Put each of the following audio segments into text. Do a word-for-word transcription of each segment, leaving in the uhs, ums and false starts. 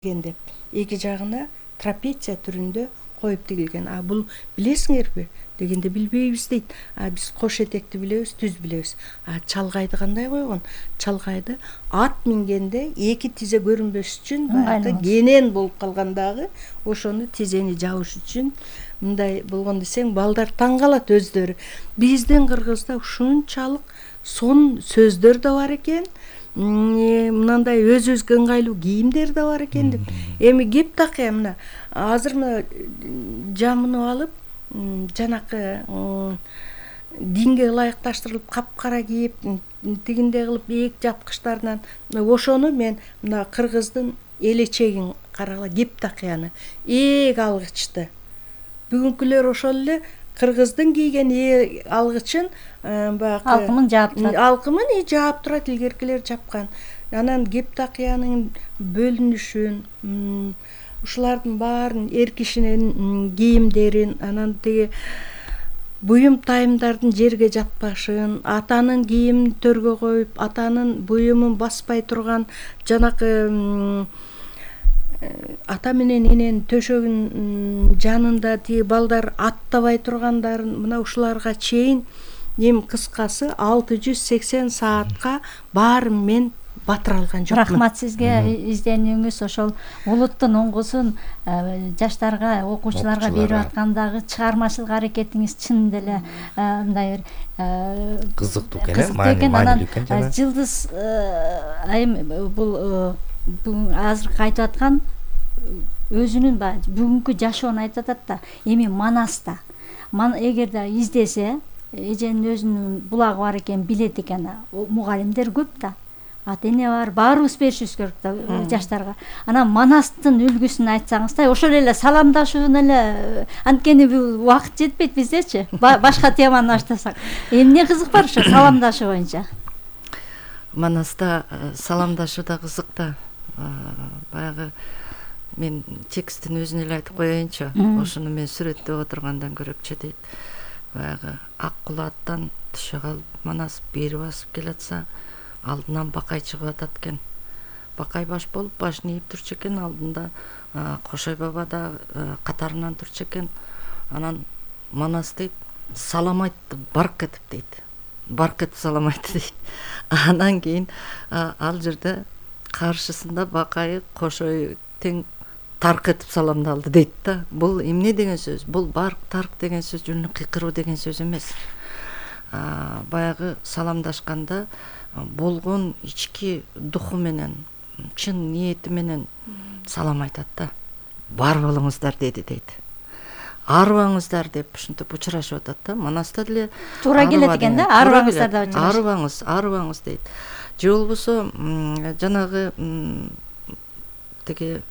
деп эки жагына трапеция түрүндө коюп тигилген. А бул билесиңерби дегенде билбейбиз дейт. А биз кош этекти билебиз, түз билебиз. А чалгайды кандай койгон? Чалгайды ат мингенде эки тизе көрүнбөш үчүн баягы кенен болуп калгандагы ошону тизени жабыш үчүн мындай болгон десең, балдар таң калат өздөрү. Биздин кыргызда ушунчалык сонун сөздөр да бар экен. Мынандай өзүбүзгө ыңгайлуу кийимдер да бар экен деп. Эми кеп такыя мына азыр мына жамынып алып, жанакы динге ылайыкташтырылып капкара кийип, тигиндей кылып ээк жапкычтарынан ошону мен мына кыргыздын элечегин карагыла, кеп такыяны ээк алгычты. Бүгүнкүлөр ошол эле кыргыздын кийген ээк алгычын баягы алкымын жаап турат. Алкымын и жаап турат, илгеркилер жапкан. Анан кеп такыянын бөлүнүшүн, ушулардын баарын эр кишинин кийимдерин, анан тиги буюм тайымдардын жерге жатпашын, атанын кийимин төргө коюп, атанын буюмун баспай турган жанакы ата менен эненин төшөгүнүн жанында тиги балдар аттабай тургандарын, мына ушуларга чейин эми кыскасы алты жүз сексен саатка баарын мен батыра алган жокмун. Рахмат сизге изденүүңүз ошол улуттун оңгусун жаштарга, окуучуларга берип аткандагы чыгармачылык аракетиңиз чын деле мындай бир кызыктуу экен, маанилүү экен. Жылдыз айым бул азыркы айтып аткан өзүнүн баягы бүгүнкү жашоонун айтып атат да, эми Манаста эгерде издесе, эженин өзүнүн булагы бар экенин билет экен. Мугалимдер көп да, ата эне бар, баарыбыз беришибиз керек да жаштарга. Анан Манастын үлгүсүн айтсаңызда, ошол эле саламдашууну эле, анткени бул убакыт жетпейт биздечи. Башка теманы баштасак, эмне кызык бар ошо саламдашуу боюнча? Манаста саламдашуу да кызык да. Баягы мен текстин өзүн эле айтып коеюнчу. Ошону мен сүрөттөп отургандан көрөкчү дейт. Баягы ак кулааттан түшө калып Манас бери басып келатса, алдынан Бакай чыгып атат экен. Бакай баш болуп башын ийип турчу экен, алдында Кошой баба да катарынан турчу экен. Анан Манас дейт, салам айтты, барк этип дейт. Барк этип салам айтты дейт. Анан кийин ал жерде каршысында Бакай Кошой тең тарк этип саламдалды дейт да. Бул эмне деген сөз? Бул барк, тарк деген сөз жөн кыйкыруу деген сөз эмес. Баягы саламдашканда болгон ички духу менен, чын ниети менен салам айтат да. Бар болуңуздар деди дейт. Арыбаңыздар деп ушинтип учурашып атат да. Манаста деле туура келет экен да, арыбаңыздар деп учурашат. Арыбаңыз, арыбаңыз дейт. Же болбосо жанагы тиги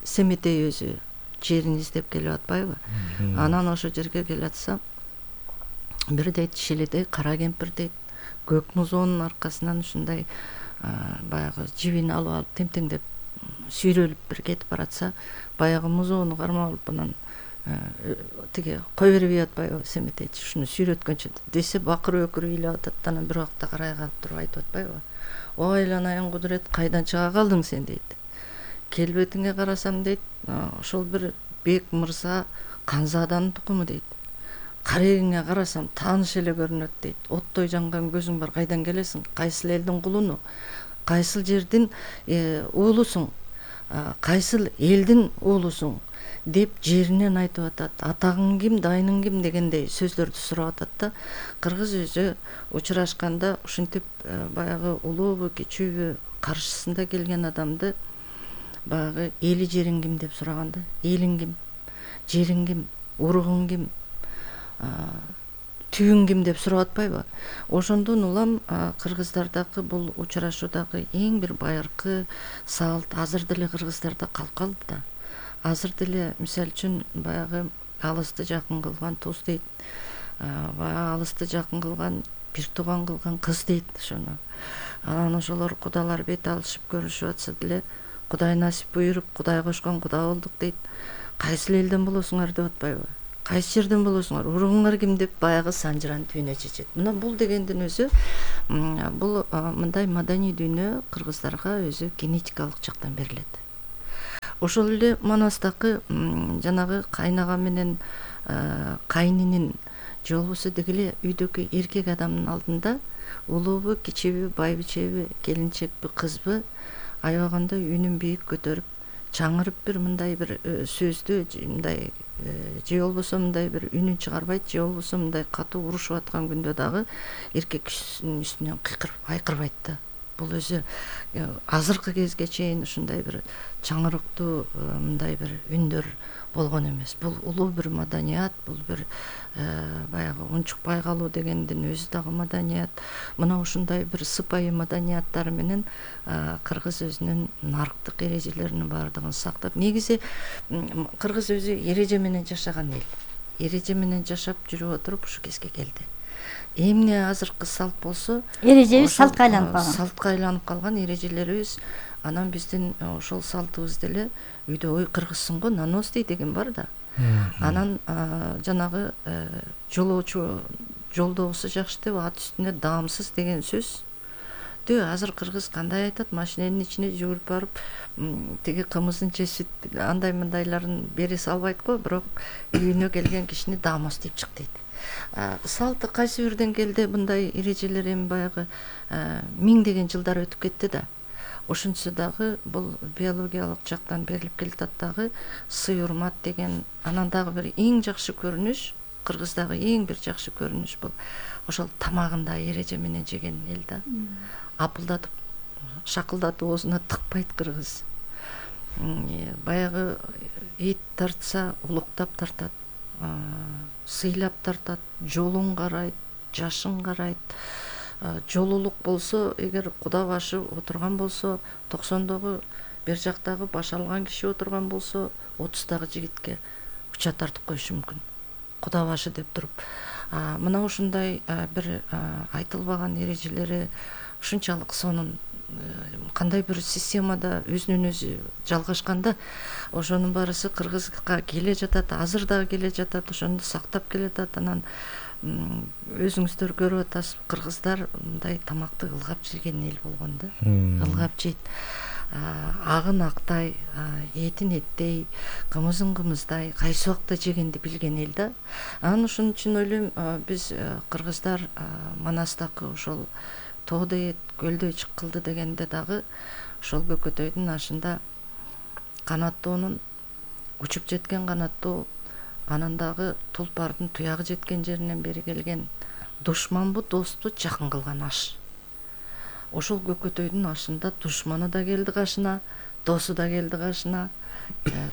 Семетей өзү жерин издеп келип атпайбы? Анан ошо жерге келатса, бир дейт Шиледей кара кемпир дейт, көк музоонун аркасынан ушундай баягы жибин алып алып темтеңдеп сүйрөлүп бир кетип баратса, баягы музоону кармап алып анан тиги кой бербей атпайбы Семетейчи, ушуну сүйрөткөнчө десе бакыр өкүрүп ыйлап атат, анан бир убакта карай калып туруп айтып атпайбы? Ой Ланайын Кудурет, кайдан чыга калдың сен дейт. Келбетиңе карасам дейт, ошол бир бек мырза Канзаданын тукуму дейт. Карегиңе карасам тааныш эле көрүнөт дейт. Оттой жанган көзүң бар, кайдан келесиң? Кайсыл элдин кулуну? Кайсыл жердин уулусуң? Кайсыл элдин уулусуң? Деп жеринен айтып атат. Атагың ким, дайының ким дегендей сөздөрдү сурап атат да. Кыргыз өзү учурашканда ушинтип баягы улуубу, кичүүбү каршысында келген адамды баягы эли жериң ким деп сураганда, элиң ким, жериң ким, уругуң ким, түйүң ким деп сурап атпайбы? Ошондон улам кыргыздардагы бул учурашуудагы эң бир байыркы салт азыр деле кыргыздарда калып калды да. Азыр деле мисалы үчүн баягы алысты жакын кылган туз дейт. Баягы алысты жакын кылган бир тууган кылган кыз дейт ошону. Анан ошолор кудалар бет алышып көрүшүп атса деле, Кудай насип буйруп, Кудай кошкон куда болдук дейт. Кайсыл элден болосуңар деп атпайбы? Кайсы жерден болосуңар? Уругуңар ким деп баягы санжыран дүйнө чечет. Мына бул дегендин өзү бул мындай маданий дүйнө кыргыздарга өзү генетикалык жактан берилет. ошол эле Манастагы жанагы кайнага менен кайнинин же болбосо деги эле үйдөгү эркек адамдын алдында улуубу, кичиби, байбичеби, келинчекпи, кызбы аябаганда үнүн бийик көтөрүп, чаңырып бир мындай бир сөздү мындай же болбосо мындай бир үнүн чыгарбайт, же болбосо мындай катуу урушуп аткан күндө дагы эркек кишинин үстүнөн кыйкырып айкырбайт да. Бул өзү азыркы кезге чейин ушундай бир чаңырыктуу мындай бир үндөр болгон эмес. Бул улуу бир маданият, бул бир баягы унчукпай калуу дегендин өзү дагы маданият. Мына ушундай бир сыпайы маданияттары менен кыргыз өзүнүн нарыктык эрежелеринин баардыгын сактап, негизи кыргыз өзү эреже менен жашаган эл. Эреже менен жашап жүрүп отуруп ушу кезге келди. Эмне азыркы салт болсо, эрежебиз салтка айланып калган. Салтка айланып калган эрежелерибиз, анан биздин ошол салтыбыз деле үйдө ой кыргызсың го, наносный деген бар да. Анан жанагы жолоочу жолдогусу жакшы деп ат үстүнө даамсыз деген сөз. Тө азыр кыргыз кандай айтат? Машиненин ичине жүгүрүп барып, тиги кымызын чечип, андай мындайларын бере салбайт го, бирок үйүнө келген кишини даамос деп чык дейт. Салты кайсы бирден келди мындай эрежелер, эми баягы миңдеген жылдар өтүп кетти да. Ошончо дагы бул биологиялык жактан берилип келатат дагы сый урмат деген. Анан дагы бир эң жакшы көрүнүш, кыргыздагы эң бир жакшы көрүнүш бул ошол тамагында эреже менен жеген эл да. Апылдатып, шакылдатып оозуна тыкпайт кыргыз. Баягы эт тартса улуктап тартат, сыйлап тартат, жолун карайт, жашын карайт. Жолулук болсо, эгер куда башы отурган болсо, токсондогу бер жактагы баш алган киши отурган болсо, отуздагы жигитке уча тартып коюшу мүмкүн. Куда башы деп туруп. Мына ушундай бир айтылбаган эрежелери ушунчалык сонун кандай бир системада өзүнөн өзү жалгашканда, ошонун баарысы кыргызга келе жатат, азыр дагы келе жатат, ошону сактап келатат. Анан өзүңүздөр көрүп атасыз, кыргыздар мындай тамакты ылгап жеген эл болгон да. Ылгап жейт. Агын актай, этин эттей, кымызын кымыздай, кайсы убакта жегенди билген эл да. Анан ошон үчүн ойлойм, биз кыргыздар Манастагы ошол тоодой эт, көлдөй чыккылды дегенде дагы ошол көкөтөйдүн ашында канаттоонун учуп жеткен канаттоо, анан дагы тулпардын туягы жеткен жеринен бери келген душманбы, досту жакын кылган аш. Ошол көкөтөйдүн ашында душманы да келди кашына, досу да келди кашына,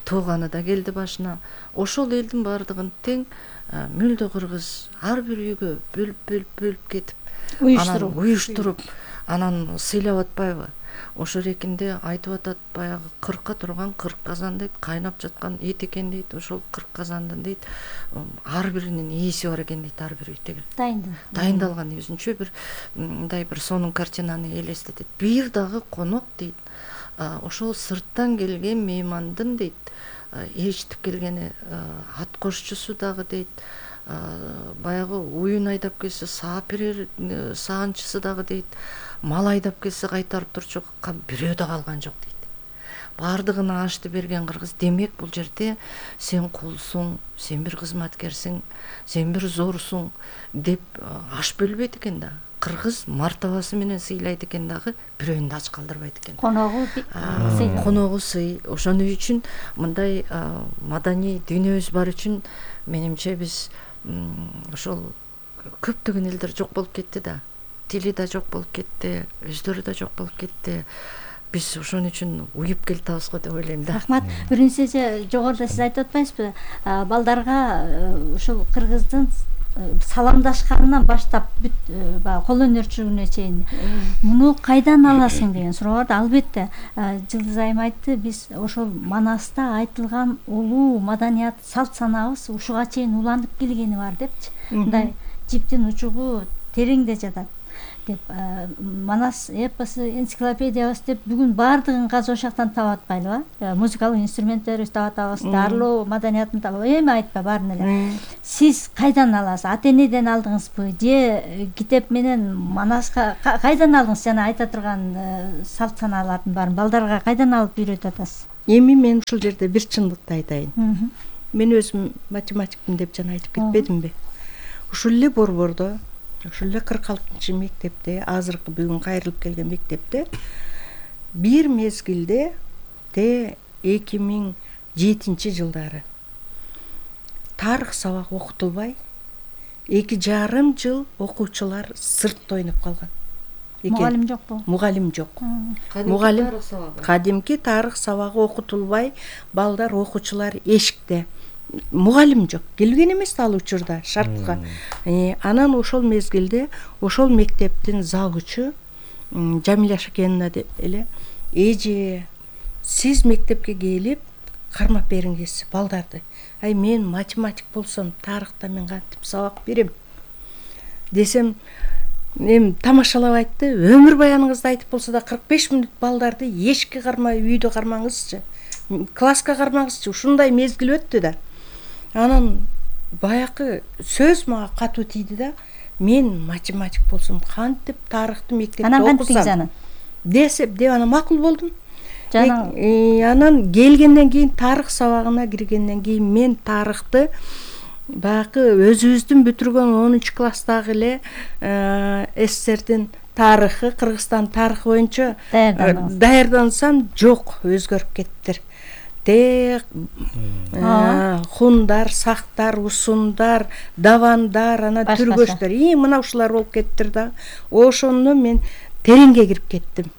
тууганы да келди башына. Ошол элдин баардыгын тең мүлдө кыргыз ар бир үйгө бөлүп-бөлүп бөлүп кетип, анан уюштуруп, анан сыйлап атпайбы? Ошо рекинде айтып атат, баягы кыркка турган кырк казан дейт, кайнап жаткан эт экен дейт, ошол кырк казандын дейт, ар биринин ээси бар экен дейт, ар бир үйдө. Дайындалган өзүнчө бир мындай бир сонун картинаны элестетет. Бир дагы конок дейт, ошол сырттан келген меймандын дейт, ээрчитип келгени ат кошчусу дагы дейт, баягы уюн айдап келсе саап берер саанчысы дагы дейт, мал айдап келсе кайтарып турчу бирөө да калган жок дейт. Баардыгына ашты берген кыргыз. Демек бул жерде сен кулсуң, сен бир кызматкерсиң, сен бир зорсуң деп аш бөлбөйт экен да. Кыргыз мартабасы менен сыйлайт экен дагы, бирөөнү да ач калтырбайт экен. Коногу сый. Коногу сый. Ошону үчүн мындай маданий дүйнөбүз бар үчүн менимче биз ошол көптөгөн элдер жок болуп кетти да. Тили да жок болуп кетти, өздөрү да жок болуп кетти. Биз ошон үчүн уюп келатабыз го деп ойлойм да. Рахмат. Биринчиси жогоруда сиз айтып атпайсызбы? Балдарга ушул кыргыздын саламдашканынан баштап бүт баягы кол өнөрчүлүгүнө чейин муну кайдан аласың деген суроо бар да. Албетте Жылдыз айым айтты, биз ошол Манаста айтылган улуу маданият, салт санаабыз ушуга чейин уланып келгени бар депчи. Мындай жиптин учугу тереңде жатат деп. Манас эпосу, энциклопедиябыз деп бүгүн баардыгын казып ошактан таап атпайлыбы? Музыкалык инструменттерибизди таап атабыз, даарылоо маданиятын таап, эми айтпа баарын эле. Сиз кайдан аласыз? Ата энеден алдыңызбы же китеп менен Манаска кайдан алдыңыз? Жана айта турган салт санаалардын баарын балдарга кайдан алып үйрөтүп атасыз? эми мен ушул жерде бир чындыкты айтайын. Мен өзүм математикмин деп жана айтып кетпедимби? Ушул эле борбордо, ушул эле кырк алтынчы мектепте, азыркы бүгүн кайрылып келген мектепте бир мезгилде те эки миң жетинчи жылдары тарых сабак окутулбай эки жарым жыл окуучулар сыртта ойноп калган. Мугалим жокпу? Мугалим жок. Мугалим кадимки тарых сабагы окутулбай, балдар окуучулар эшикте. Мугалим жок. Келген эмес ал учурда шартка. Анан ошол мезгилде ошол мектептин завучу Жамиля Шакеновна эле эже сиз мектепке келип кармап бериңиз балдарды. Ай мен математик болсом, тарыхта мен кантип сабак берем десем, эми тамашалап айтты. Өмүр баяныңызды айтып болсо да кырк беш мүнөт балдарды эшикке кармай үйдө кармаңызчы, класска кармаңызчы. Ушундай мезгил өттү да. Анан баякы сөз мага катуу тийди да. Мен математик болсом кантип тарыхты мектепте окусам. Анан кантип анан? Десеп, деп анан макул болдум. Анан келгенден кийин тарых сабагына киргенден кийин мен тарыхты баягы өзүбүздүн бүтүргөн онунчу класстагы эле СССРдин тарыхы, Кыргызстан тарыхы боюнча даярдансам, жок, өзгөрүп кеттир. Те хундар, сактар, усундар, давандар, анан түргөчтөр, и мына ушулар болуп кеттир да. Ошондо мен тереңге кирип кеттим.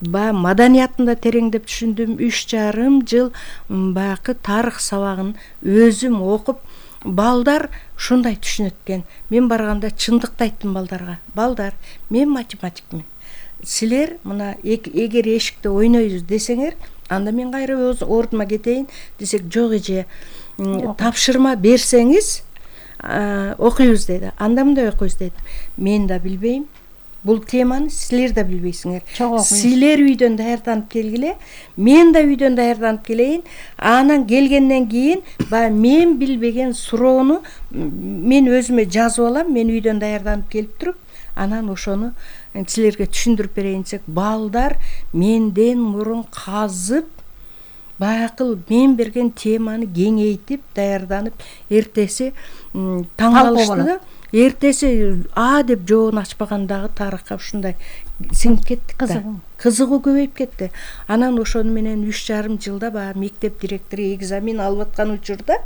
Ба маданиятында тереңдеп түшүндүм. Үч жарым жыл баягы тарых сабагын өзүм окуп, балдар ушундай түшүнөт экен. Мен барганда чындыкты айттым балдарга. Балдар, мен математикмин. Силер мына эгер эшикте ойнойбуз десеңер, анда мен кайра ордума кетейин десек, жок эже, тапшырма берсеңиз окуйбуз дейт. Анда мындай окуйбуз дейт. Мен да билбейм. Бул теманы силер да билбейсиңер. Силер үйдөн даярданып келгиле, мен да үйдөн даярданып келейин. Анан келгенден кийин баягы мен билбеген суроону мен өзүмө жазып алам, мен үйдөн даярданып келип туруп, анан ошону силерге түшүндүрүп берейин десек, балдар менден мурун казып, баягы мен берген теманы кеңейтип, даярданып, эртеси таң калышты да. Эртеси а деп жообун ачпагандагы тарыхка ушундай сиңип кеттик да. Кызыгуу көбөйүп кетти. Анан ошону менен үч жарым жылда баягы мектеп директору экзамен алып аткан учурда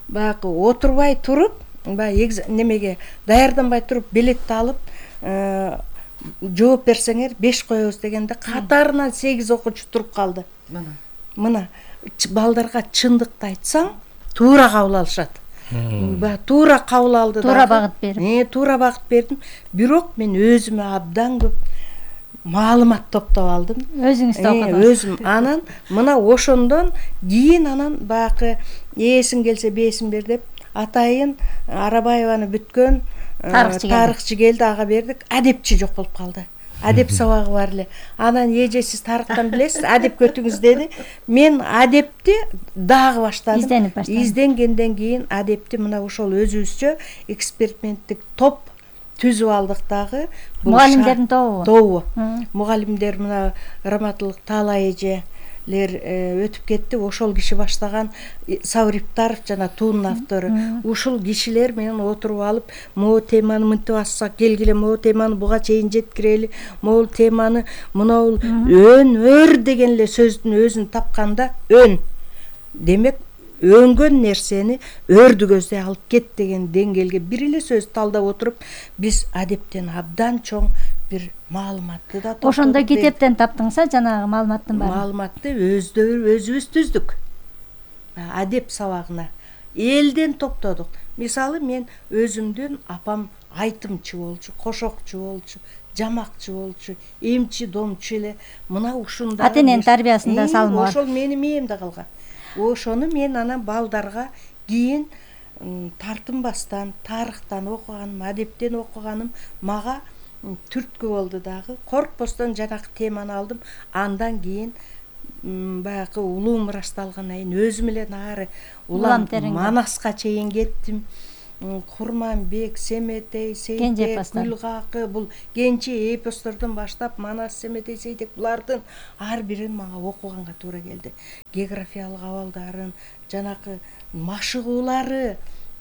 баягы отурбай туруп, баягы немеге даярданбай туруп билетти алып, жооп берсеңер беш коебуз дегенде катарынан сегиз окуучу туруп калды. Мына. Мына балдарга чындыкты айтсаң, туура кабыл алышат. Ба туура кабыл алды да. Туура багыт берип. Э, туура багыт бердим. Бирок мен өзүмө абдан көп маалымат топтоп алдым. Өзүңүз да окудуңуз. Өзүм. Анан мына ошондон кийин анан баягы эсиң келсе бесин бер деп атайын Арабаеваны бүткөн тарыхчы келди, ага бердик. Адепчи жок болуп калды. Адеп сабагы бар эле. Анан эже сиз тарыхтан билесиз, адеп көтүңүз деди. Мен адепти дагы баштадым. Изденип баштадым. Изденгенден кийин адепти мына ошол өзүбүзчө эксперименттик топ түзүп алдык дагы. Мугалимдердин тобу. Тобу. Мугалимдер мына Раматылык Таала эже өтүп кетти. Ошол киши баштаган Савриптаров жана туунун автору. Ушул кишилер менен отуруп алып, могу теманы мынтип ачсак келгиле, могу теманы буга чейин жеткирели, могу теманы мынау өнөр деген эле сөздүн өзүн тапканда, өн. Демек, өңгөн нерсени өрдү көздөй алып кет деген деңгээлге бир эле сөз талдап отуруп, биз адептен абдан чоң бир маалыматты да топтодук. Ошондо китептен таптыңса, жанагы маалыматтын баары. Маалыматты өзүбүз түздүк. Адеп сабагына элден топтодук. Мисалы мен өзүмдүн апам айтымчы болчу, кошокчу болчу, жамакчы болчу, эмчи домчу эле. Мына ушундай ата-эненин тарбиясында салымы бар. Ошол менин мээмде калган. Ошону мен анан балдарга кийин тартынбастан, тарыхтан окуганым, адептен окуганым мага түрткү болду дагы. Коркпостон жанагы теманы алдым. Андан кийин баягы улуу мурашты алгандан кийин өзүм эле нары улам Манаска чейин кеттим. Курманбек, Семетей, Сейтек, Гүлгакы, бул кенчи эпостордон баштап Манас, Семетей, Сейтек булардын ар бирин мага окуганга туура келди. Географиялык абалдарын, жанакы машыгуулары,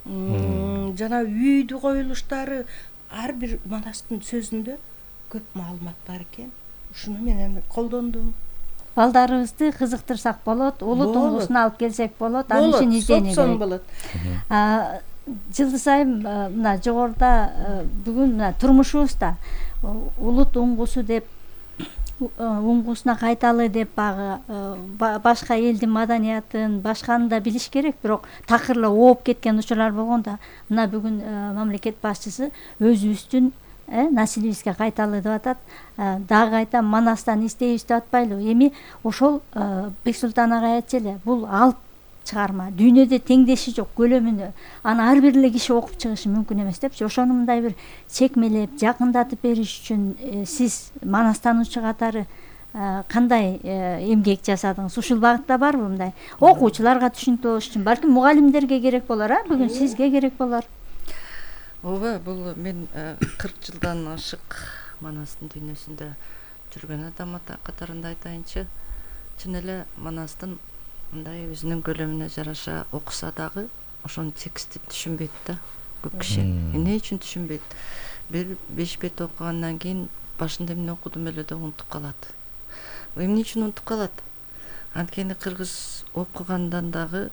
жана үйдү коюлуштары, ар бир Манастын сөзүндө көп маалымат бар экен. Ушуну менен колдондум. Балдарыбызды кызыктырсак болот, улут уңгусуна алып келсек болот, аны үчүн издене керек. Болот. Жылдыз айым мына жогоруда бүгүн мына турмушубузда улут уңгусу деп, уңгусуна кайталы деп багы башка элдин маданиятын, башканы да билиш керек, бирок такырла ооп кеткен учурлар болгондо мына бүгүн мамлекет башчысы өзүбүздүн населибизге кайталы деп атат. Дагы кайта Манастан издейбиз деп атпайлыбы? Эми ошол Бексултан агай айтчу эле, бул алып чыгарма, дүйнөдө теңдеши жок көлөмүнө, аны ар бир эле киши окуп чыгышы мүмкүн эмес депчи. Ошону мындай бир чекмелеп, жакындатып бериш үчүн сиз Манастануучу катары кандай эмгек жасадыңыз? Ушул багытта барбы мындай? Окуучуларга түшүнүктүү болуш үчүн, балким мугалимдерге керек болор, а бүгүн сизге керек болор. Ооба, бул мен кырк жылдан ашык Манастын дүйнөсүндө жүргөн адам катарында айтайынчы. Чын эле Манастын мындай өзүнүн көлөмүнө жараша окуса дагы ошонун текстин түшүнбөйт да көп киши. Эмне үчүн түшүнбөйт? Бир беш бет окугандан кийин башында эмне окудум эле деп унутуп калат. Эмне үчүн унутуп калат? Анткени кыргыз окугандан дагы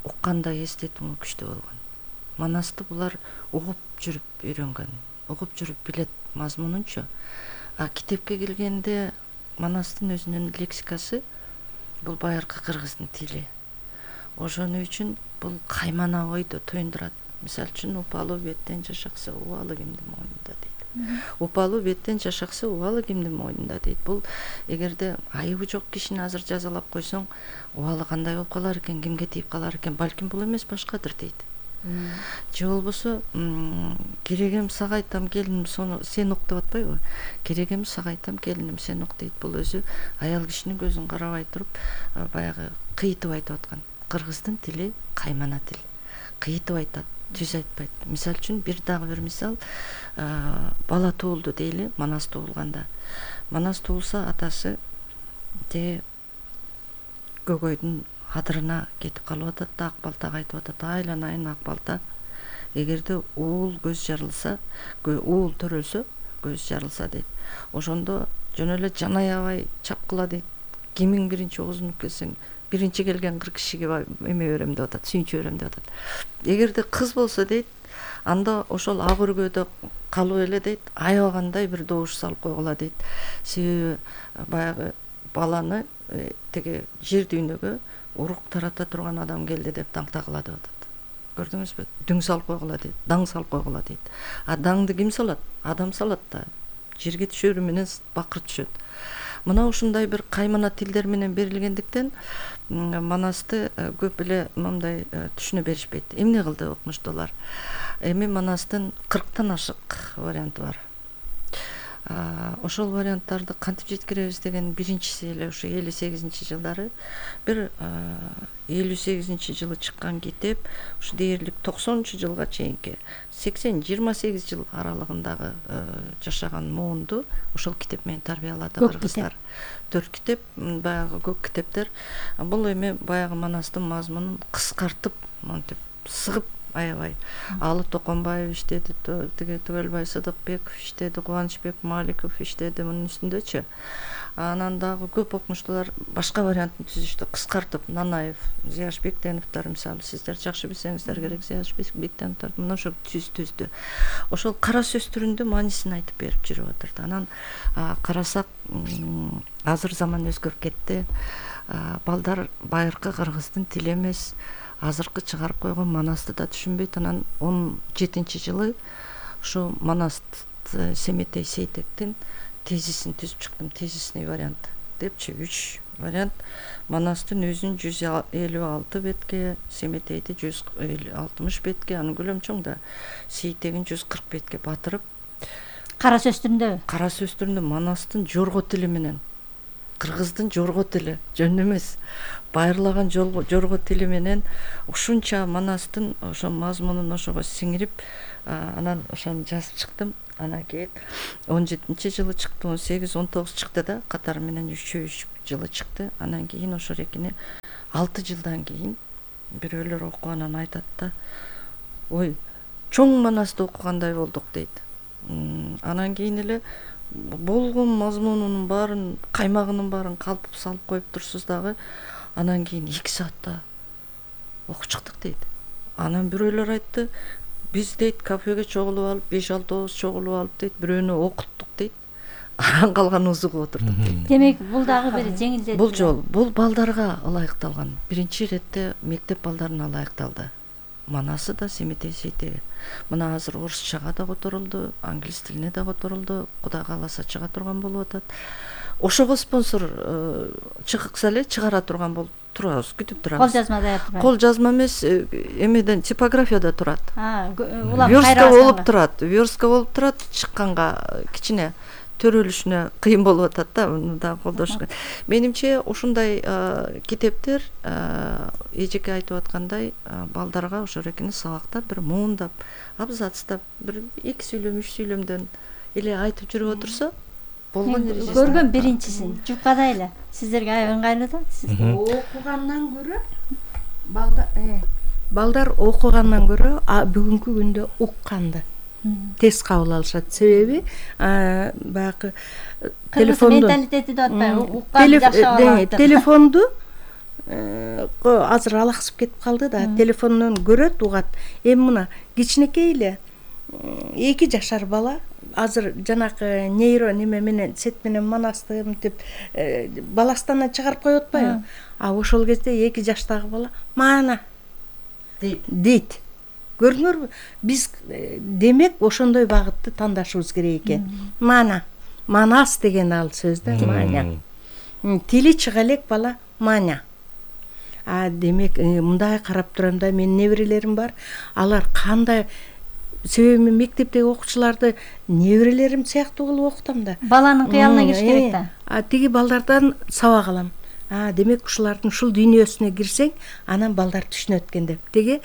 укканда эстетүү күчтүү болгон. Манасты булар угуп жүрүп үйрөнгөн, угуп жүрүп билет мазмунунчу. А китепке келгенде Манастын өзүнүн лексикасы бул байыркы кыргыздын тили. Ошону үчүн бул каймана ойду туюндурат. Мисалы үчүн упалуу беттен жашаксы убалы кимдин мойнунда дейт. Упалуу беттен жашаксы убалы кимдин мойнунда дейт. Бул эгерде айыбы жок кишини азыр жазалап койсоң, убалы кандай болуп калар экен, кимге тийип калар экен, балким бул эмес башкадыр дейт. Же болбосо керегем сага айтам келиним сен ук деп атпайбы? Керегем сага айтам келиним сен ук дейт. Бул өзү аял кишинин көзүн карабай туруп баягы кыйтып айтып аткан. Кыргыздын тили каймана тил. Кыйтып айтат, түз айтпайт. Мисалы үчүн бир дагы бир мисал, бала туулду дейли, Манас туулганда. Манас туулса атасы же көгөйдүн адырына кетип калып атат да, ак балтага айтып атат, айланайын ак балта. Эгерде уул көз жарылса, уул төрөлсө, көз жарылса дейт. Ошондо жөн эле жан аябай чапкыла дейт. Кимиң биринчи оозунуп келсең, биринчи келген кырк кишиге эме берем деп атат, сүйүнчө берем деп атат. Эгерде кыз болсо дейт, анда ошол ак өргөдө калып эле дейт, аябагандай бир добуш салып койгула дейт. Себеби баягы баланы теге жер дүйнөгө урук тарата турган адам келди деп даңтагыла деп атат. Көрдүңүзбү? Дүң салып койгула дейт, даң салып койгула дейт. А даңды ким салат? Адам салат да. Жерге түшөрү менен бакыр түшөт. Мына ушундай бир каймана тилдер менен берилгендиктен Манасты көп эле мындай түшүнө беришпейт. Эмне кылды окумуштуулар? Эми Манастын кырктан ашык варианты бар. Ошол варианттарды кантип жеткиребиз деген биринчиси эле ушу элүү сегизинчи жылдары бир элүү сегизинчи жылы чыккан китеп, ушу дээрлик токсонунчу жылга чейинки сексен жыйырма сегиз жыл аралыгындагы жашаган муунду ошол китеп менен тарбиялады кыргыздар. Төрт китеп, баягы көк китептер. Бул эми баягы Манастын мазмунун кыскартып, монтип сыгып аябай. Алы Токонбаев иштеди, тиги Түгөлбай Сыдыкбеков иштеди, Кубанычбек Маликов иштеди мунун үстүндөчү. Анан дагы көп окумуштуулар башка вариантын түзүштү, кыскартып. Нанаев, Зияш Бектеновдор мисалы, сиздер жакшы билсеңиздер керек, Зияш Бектеновдор мына ошо түз түздү. Ошол кара сөз түрүндө маанисин айтып берип жүрүп атат. Анан карасак, азыр заман өзгөрүп кетти. Балдар байыркы кыргыздын тили эмес, азыркы чыгарып койгон Манасты да түшүнбөйт. Анан он жетинчи жылы ушу Манаст Семетей Сейтектин тезисин түзүп чыктым, тезисный вариант депчи, үч вариант. Манастын өзүн жүз элүү алты бетке, Семетейди жүз алтымыш бетке, анын көлөмү чоң да, Сейтегин жүз кырк бетке батырып, кара сөз түрүндө, кара сөз түрүндө Манастын жорго тили менен кыргыздын жорго тили жөн эмес, байырлаган жорго тили менен ушунча Манастын ошо мазмунун ошого сиңирип, анан ошону жазып чыктым. Анан кийин он жетинчи жылы чыкты, он сегиз он тогуз чыкты да, катары менен үчөө үч жылы чыкты. Анан кийин ошо рекини алты жылдан кийин бирөөлөр окуп анан айтат да, ой, чоң Манасты окугандай болдук дейт. Анан кийин эле болгон мазмунунун баарын, каймагынын баарын калпып салып коюп турсуз дагы. Анан кийин эки саатта окуп чыктык дейт. Анан бирөөлөр айтты, биз дейт кафеге чогулуп алып, беш алтыбыз чогулуп алып дейт, бирөөнү окуттук дейт. Анан калган узугуп отурдук дейт. Демек, бул дагы бир жеңилдетүү. Бул жол, бул балдарга ылайыкталган. Биринчи иретте мектеп балдарына ылайыкталды. Манасы да, Семетейси де. Мына азыр орусчага да которулду, англис тилине да которулду, Кудай кааласа чыга турган болуп атат. Ошого спонсор чыкса эле чыгара турган болуп турабыз, күтүп турабыз. Кол жазма даяр турат. Кол жазма эмес, эмеден типографияда турат. А, улам верстка болуп турат, верстка болуп турат, чыкканга кичине төрөлүшүнө кыйын болуп атат да, муну да колдош. Менимче ушундай китептер эжеке айтып аткандай балдарга ошо рекини сабакта бир муундап, абзацтап, бир эки сүйлөм, үч сүйлөмдөн эле айтып жүрүп отурса, болгон эрежеси. Көргөн биринчисин жуккадай эле. Сиздерге аябай ыңгайлуу да. Окугандан көрө балдар балдар окугандан көрө бүгүнкү күндө укканды тез кабыл алышат. Себеби баягы телефонду менталитети деп атпайбы, уккан жашап. Телефонду азыр алаксып кетип калды да, телефондон көрөт, угат. Эми мына кичинекей эле эки жашар бала азыр жанакы нейро неме менен сет менен Манасты мынтип баластанан чыгарып коюп атпайбы? А ошол кезде эки жаштагы бала мана дейт. Дейт. Көрдүңөрбү? Биз демек ошондой багытты тандашыбыз керек экен. Мана, Манас деген ал сөз да, маня. Тили чыга элек бала маня. А демек мындай карап турам да, менин неберелерим бар. Алар кандай, себеби мен мектептеги окуучуларды неберелерим сыяктуу кылып окутам да. Баланын кыялына кириш керек да. А тиги балдардан сабак алам. А демек ушулардын ушул дүйнөсүнө кирсең, анан балдар түшүнөт экен деп. Теги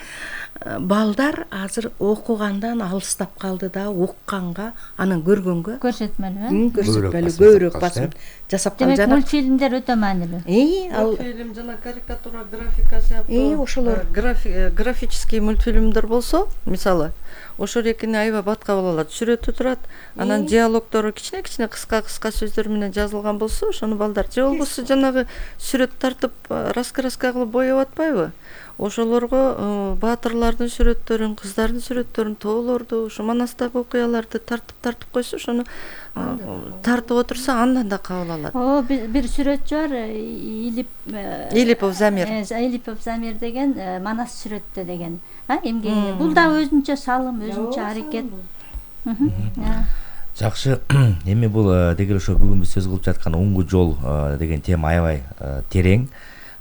балдар азыр окугандан алыстап калды да, укканга, анан көргөнгө көрсөтмөлүү, көрсөтмөлүү көбүрөөк басым жасап калды. Демек мультфильмдер өтө маанилүү. Э, ал мультфильм жана карикатура, графика сыяктуу. Э, ошолор графический мультфильмдер болсо, мисалы, ошо рекини аябай батка балалар сүрөтү турат, анан диалогдору кичине-кичине кыска-кыска сөздөр менен жазылган болсо, ошону балдар же болбосо жанагы сүрөт тартып раска-раска кылып боеп атпайбы? Ошолорго баатырлардын сүрөттөрүн, кыздардын сүрөттөрүн, тоолорду, ошо Манастагы окуяларды тартып-тартып койсо, ошону тартып отурса, андан да кабыл алат. О, бир сүрөтчү бар, Илип Илипов Замир. Илипов Замир деген Манас сүрөттө деген. А, эмгеги. Бул да өзүнчө салым, өзүнчө аракет. Жакшы. Эми бул деги ошо бүгүн биз сөз кылып жаткан уңгу жол деген тема аябай терең.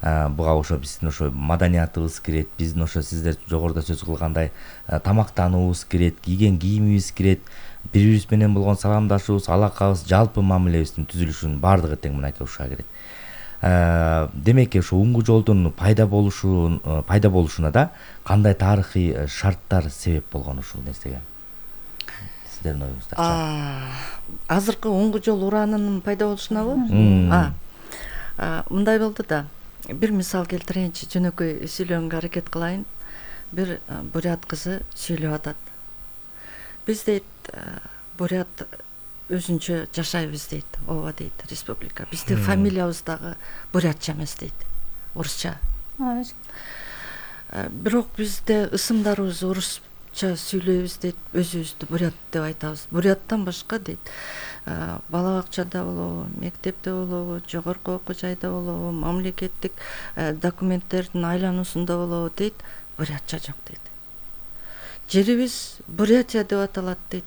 Буга ошо биздин ошо маданиятыбыз кирет, биздин ошо сиздер жогоруда сөз кылгандай тамактануубуз кирет, кийген кийимибиз кирет, бири-бирибиз менен болгон саламдашуубуз, алакабыз, жалпы мамилебиздин түзүлүшүнүн баардыгы тең мынакей ушуга кирет. Демек ошо уңгу жолдун пайда болушун пайда болушуна да кандай тарыхый шарттар себеп болгон ушул нерсеге? Сиздердин оюңузда. Азыркы уңгу жол ураанынын пайда болушунабы? Мындай болду да. Бир мисал келтирейинчи, жөнөкөй сүйлөгөнгө аракет кылайын. Бир бурят кызы сүйлөп атат. Биз дейт, бурят өзүнчө жашайбыз дейт, ооба дейт, республика. Биздин фамилиябыз дагы бурятча эмес дейт, орусча. Бирок бизде ысымдарыбыз орусча сүйлөйбүз дейт, өзүбүздү бурят деп айтабыз. Буряттан башка дейт, бала бакчада болобу, мектепте болобу, жогорку окуу жайда болобу, мамлекеттик документтердин айлануусунда болобу дейт, бурятча жок дейт. Жерибиз Бурятия деп аталат дейт.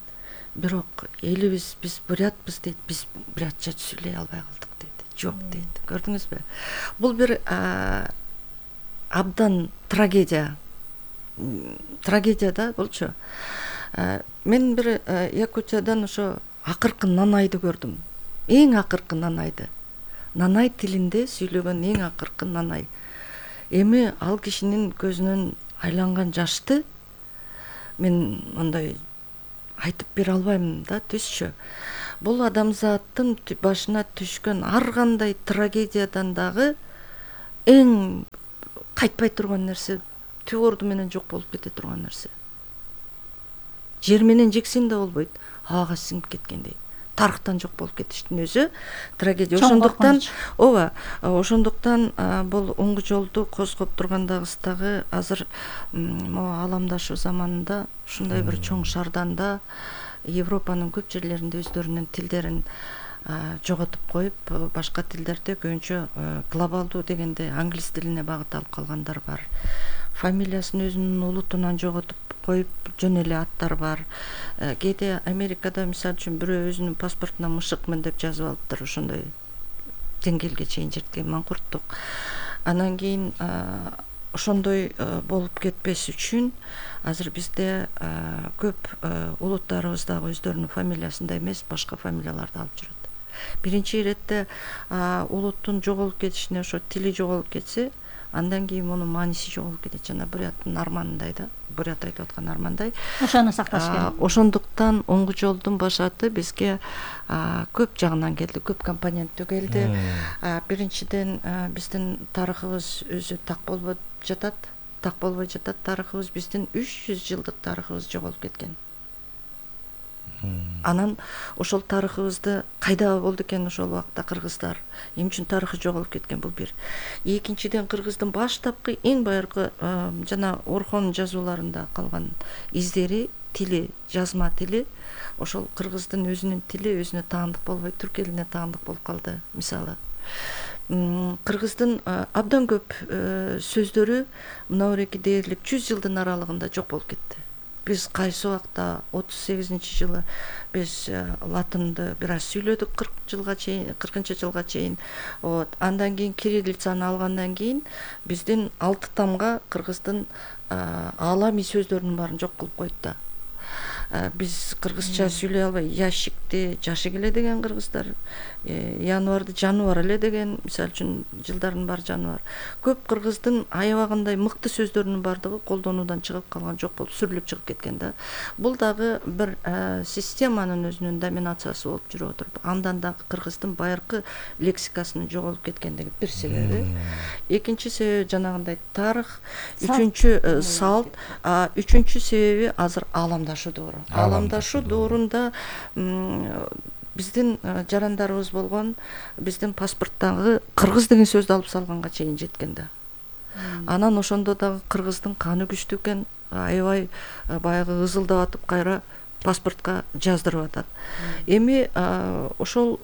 Бирок элибиз биз бурятпыз дейт, биз бурятча сүйлөй албай калдык дейт. Жок дейт. Көрдүңүзбү? Бул бир абдан трагедия. Трагедия да болчу. Мен бир Якутиядан ошо акыркы нанайды көрдүм. Эң акыркы нанайды. нанай тилинде сүйлөгөн эң акыркы нанай. Эми ал кишинин көзүнөн айланган жашты мен мындай айтып бере албайм да, түзчү. Бул адамзаттын башына түшкөн ар кандай трагедиядан дагы эң кайтпай турган нерсе, түп орду менен жок болуп кете турган нерсе. Жер менен жексен да болбойт, ага сиңип кеткендей. Тарыхтан жок болуп кетиштин өзү трагедия. Ошондуктан, ооба, ошондуктан бул оңгу жолду козгоп тургандагыбыздагы азыр могу аламдашуу заманында ушундай бир чоң шарданда Европанын көп жерлеринде өздөрүнүн тилдерин жоготуп коюп, башка тилдерде көбүнчө глобалдуу дегенде англис тилине багыт алып калгандар бар. Фамилиясын өзүнүн улутунан жоготуп коюп жөн эле аттар бар. Кээде Америкада мисалы үчүн бирөө өзүнүн паспортуна мышыкмын деп жазып алыптыр, ошондой деңгээлге чейин жеткен маңкурттук. Анан кийин ошондой болуп кетпеш үчүн азыр бизде көп улуттарыбыз дагы өздөрүнүн фамилиясында эмес, башка фамилияларды алып жүрөт. Биринчи иретте улуттун жоголуп кетишине ошо тили жоголуп кетсе, андан кийин мунун мааниси жоголуп кетет. Жана буряттын арманындай да, бурят айтып аткан армандай. Ошону сакташ керек. Ошондуктан оңгу жолдун башаты бизге көп жагынан келди, көп компоненттүү келди. Биринчиден биздин тарыхыбыз өзү так болбой жатат, так болбой жатат тарыхыбыз, биздин үч жүз жылдык тарыхыбыз жоголуп кеткен. Анан ошол тарыхыбызды кайда болду экен ошол убакта кыргыздар? Эмне үчүн тарыхы жоголуп кеткен? Бул бир. Экинчиден, кыргыздын баштапкы эң байыркы жана Орхон жазууларында калган издери, тили, жазма тили, ошол кыргыздын өзүнүн тили өзүнө таандык болбой, түрк элине таандык болуп калды. Мисалы, кыргыздын абдан көп сөздөрү мынабеки дээрлик жүз жылдын аралыгында жок болуп кетти. Биз кайсы убакта отуз сегизинчи жылы биз латынды бир аз сүйлөдүк, кырк жылга чейин, кыркынчы жылга чейин. Вот, андан кийин кириллицаны алгандан кийин биздин алты тамга кыргыздын аалами сөздөрүнүн баарын жок кылып коет да. Биз кыргызча сүйлөй албай, ящикти жашык эле деген кыргыздар, январды жаныбар эле деген, мисалы үчүн жылдардын баары жаныбар. Көп кыргыздын аябагандай мыкты сөздөрүнүн баардыгы колдонуудан чыгып калган, жок болуп, сүрүлүп чыгып кеткен да. Бул дагы бир системанын өзүнүн доминациясы болуп жүрүп отуруп, андан дагы кыргыздын байыркы лексикасынын жоголуп кеткендиги бир себеби. Экинчи себеби жанагындай тарых, үчүнчү салт, үчүнчү себеби азыр ааламдашуу доору. Ааламдашуу доорунда биздин жарандарыбыз болгон, биздин паспорттагы кыргыз деген сөздү алып салганга чейин жеткен да. Анан ошондо дагы кыргыздын каны күчтүү экен, аябай баягы ызылдап атып кайра паспортко жаздырып атат. Эми ошол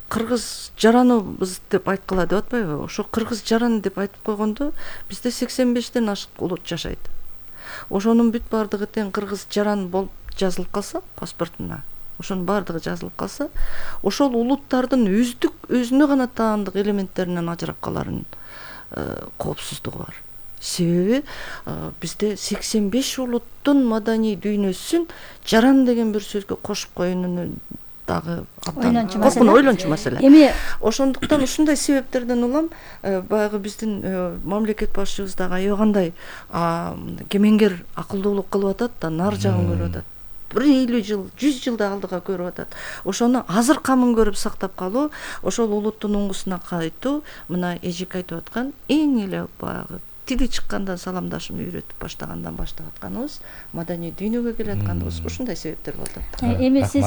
кыргыз жараныбыз деп айткыла деп атпайбы? Ошо кыргыз жаран деп айтып койгондо бизде сексен бештен ашык улут жашайт. Ошонун бүт баардыгы тең кыргыз жаран болуп жазылып калса паспортуна, ошонун баардыгы жазылып калса, ошол улуттардын өздүк өзүнө гана таандык элементтеринен ажырап каларын коопсуздугу бар. Себеби бизде сексен беш улуттун маданий дүйнөсүн жаран деген бир сөзгө кошуп коюунун дагы коркун ойлончу маселе. Эми ошондуктан ушундай себептерден улам баягы биздин мамлекет башчыбыз дагы аябагандай кемеңгер акылдуулук кылып атат да, нар жагын көрүп атат. Бир элүү жыл, жүз жылда алдыга көрүп атат. Ошону азыр камын көрүп сактап калуу, ошол улуттун оңгусуна кайтуу, мына эжек айтып аткан эң эле баягы тили чыккандан саламдашууну үйрөтүп баштагандан баштап атканыбыз, маданий дүйнөгө келе атканыбыз ушундай себептер болду. Эми сиз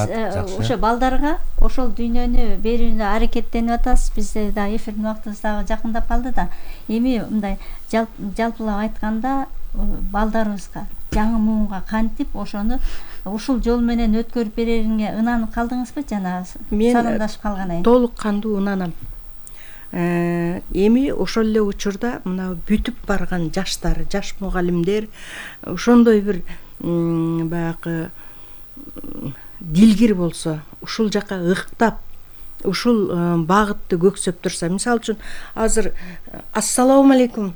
ошо балдарга ошол дүйнөнү берүүнү аракеттенип атасыз. Бизде да эфирдин убактыбыз дагы жакындап калды да. Эми мындай жалпылап айтканда балдарыбызга, жаңы муунга кантип ошону ушул жол менен өткөрүп берериңе ынанып калдыңызбы жана саламдашып калгандан кийин? Толук кандуу ынанам. Эми ошол эле учурда мына бүтүп барган жаштар, жаш мугалимдер ошондой бир баягы дилгир болсо, ушул жака ыктап, ушул багытты көксөп турса, мисалы үчүн азыр ассалому алейкум,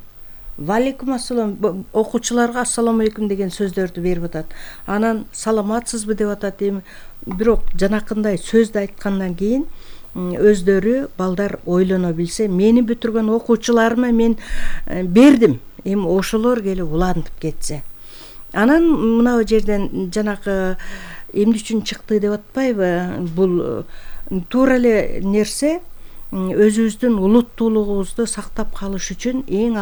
валейкум ассалам, окуучуларга ассаламу алейкум деген сөздөрдү берип атат. Анан саламатсызбы деп атат. Эми бирок жанакындай сөздү айткандан кийин өздөрү балдар ойлоно билсе, мени бүтүргөн окуучуларыма мен бердим, эми ошолор келип улантып кетсе. Анан мына жерден жанагы эмне үчүн чыкты деп атпайбы, бул туура эле нерсе, өзүбүздүн улуттуулугубузду сактап калыш үчүн эң